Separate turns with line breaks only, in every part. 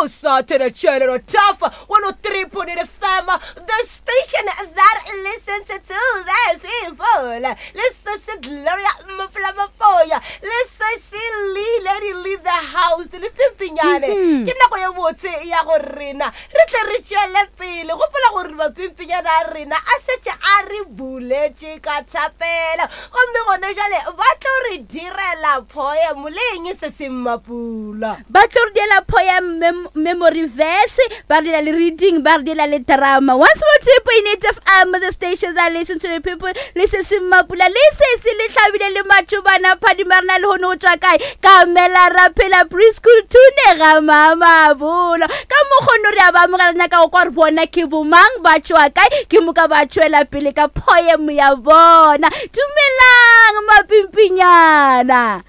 O sa theletšhelelo Tough 103.8 FM, the station that listens to the people. Le sese Gloria Mopolamapoya, le sese Lee Lady Leave the House, le Pimpinyane. Mhm. Ke nako ye botse ya go rena re tle re tšwele pele. Gopola gore mapimpinyana a rena a šetše a re buletše ka thapelo. Gomme gone jale ba tlo re direla poem le eng se se mmapula.
Ba tlo re diela poem, mem memory verse, ba re diela le reading, ba re diela le drama. 102.8 FM, the station that listen to the people, le se se mmapula, le se se le hlabile le matšobana phadima rena le hono go tšwa kae? Ka mela ra phela preschool thune ga mamabolo. Ka mokgono re a ba amogela nyaka go kwa gore bona ke bomang ba tšwa kae ke moka ba tšwela pele ka poem ya bona. Dumelang mapimpinyana.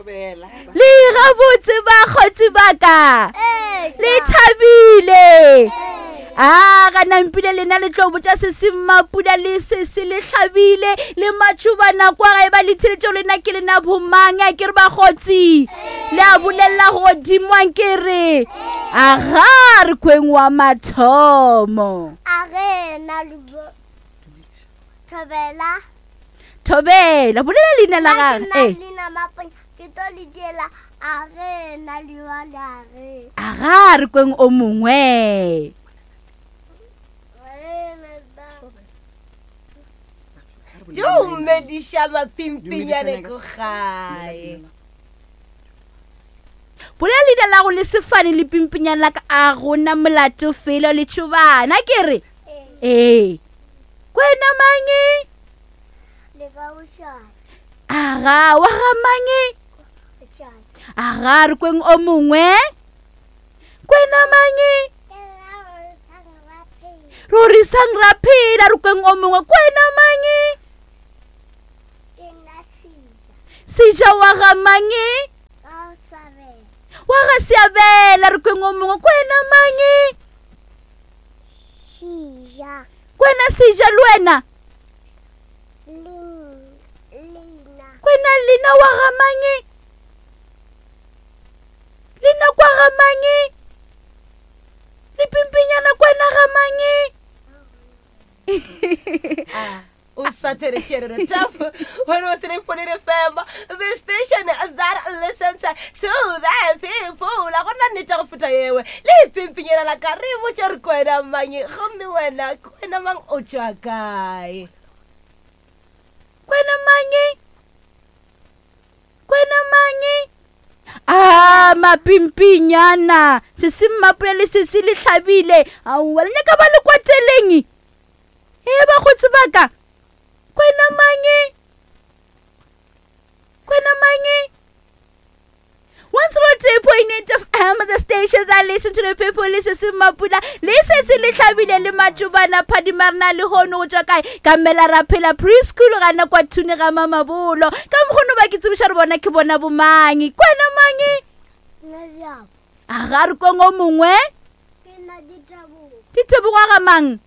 Le gabotse bakgotsi ba ka. Le thabile. A gana mpile lena le tlo botša se se mmapula le se se le hlabile le matšhobana kwa gae ba le theletšego lena ke lena bomang a ke re bakgotsi le a bolelela godimo a nke re aga re kweng wa mathomo.
A ge na Thobela.
Thobela bolela leina la
gage. Ee. Leina Maponya ke tlo le diela a ge na liwa le a ge.
Aga re kweng o mongwe.
Dumediša mapimpinyane ko gae.
Bolela leina la go le sefane le pimpinyane la ka a gona molato felo le tšhobana ke re. Ee. Kwena mange? Aga, wa ga mange? Aga, re kweng o mongwe? Kwena mange? Rorisang ra phela, re kweng o mongwe. Kwena mange? Seja wa ga mange? Wa ga Seabela, re kweng o mongwe. Kwena mange?
Seja.
Kwena seja le wena?
Lina.
Kwena lina wa ga mange? Lina kwa ga mange? Le pimpinyana kwena ga mange?
Ah. O sa theletšhelelo Top 103.8 FM, the station that listens to the people. A gona nnete go feta yewe. Le pimpinyana la ka re botša re kwena mang gomme wena kwena mang o tšwa kae?
Kwena mang? Kwena mang? A mapimpinyana, se se mmapole le se se le hlabile. Aowa, le nyaka ba le kwateleng? Ee, bakgotsi ba ka, kwena mange? Kwena mange? 103.8 FM, the station that listen to the people, le se se mapula, le se se le hlabile le matšobana phadima rena le hono go tšwa kae? Ka mela ra phela preschool gana kwa thune ga mamabolo. Ka mokgono ba ke tsebiša re bona ke bona bomangi. Kwena mange? A ga re kong o mongwe? Ditebogo ga mang?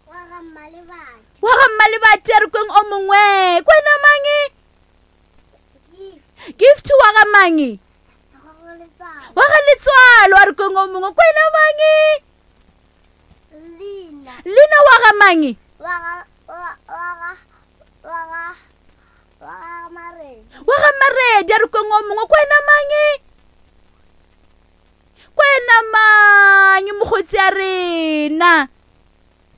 Wa ga Mmalebadi.
Wa ga Mmalebadi a re kweng o mongwe. Kwena mange? Gift wa ga mange? Wa ga Letswalo a re kweng o mongwe. Kwena mange?
Lina.
Lina wa ga mange?
Wa ga wa wa ga wa ga wa ga Maredi.
Wa ga Maredi a re kweng o mongwe. Kwena mange? Kwena mang mokgotsi a rena?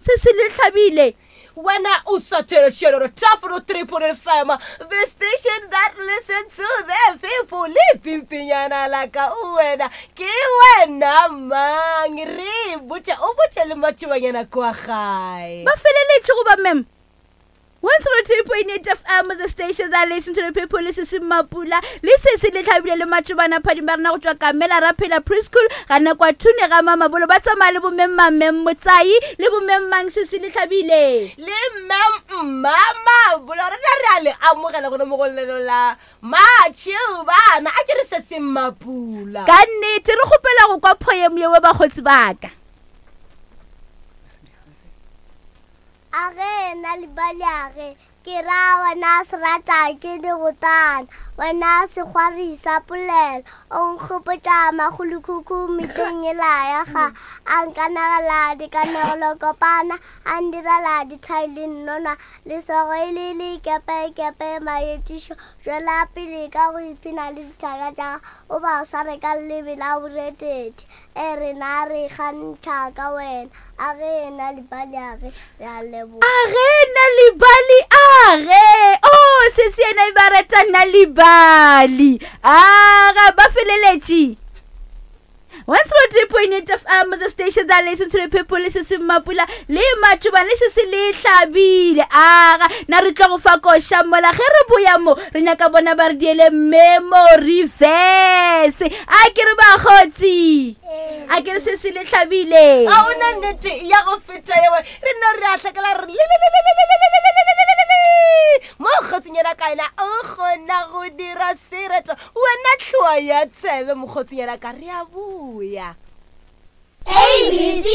Se se le hlabile.
Wena o sa theletšhelelo Top 103.8 FM, the station that listens to the people. Le pimpinyana la ka wena ke wena mang? Re botša o botše le matšobanyana kwa gae.
Ba feleletše goba mem? 103.8 FM, the station that listen to the people, le sesi Mapula, le sesi le tlhabile le matšobana phadima ba rena go tšwa Kamela ra phela preschool gana kwa Thune ga Mamabolo ba tsamaya le bomemmang mem Motsai le bomemmang sesi le tlhabile
le mmem Mmamabolo rena re a le amogela gona mo go lelo la matšobana a ke re sesi Mapula
ka nnete re kgopela go kwa poem yewe bakgotsi baka.
A ge na le bale a ge. Ke ra wena serata ke digotana, wena sekgwari sa polelo, o nkgopotša makgolokhukhu mehleng yela ya ga a nkanegela dikanegelo kopana, a ndirela dithai le nnona, lesogo e le lekepekepe maetišo. Tšwela pele ka go ipshina le dithaka tša gago, o ba sware ka leleme la borethethe. E rena re ikgantšha ka wena. A ge na libali a ge re a leboga.
A ge na libali a ge o oh, sesi yena e ba reta na libali a ga ba feleletše 103.8 FM the station that listen to the people le se se mapula le matšoba le se se le hlabile aga na re tlo go fa koša mola ge re boya mo re nyaka bona ba re diele memory verse a ke re bakgotsi a ke re se se le hlabile
ga o na nnete ya go feta yewe re nno re a hlakela re mo kgotsinyana kaela o kgona go dira sereto wena tlhoa ya tsebe mokgotsinyana ka re a boya
A B C.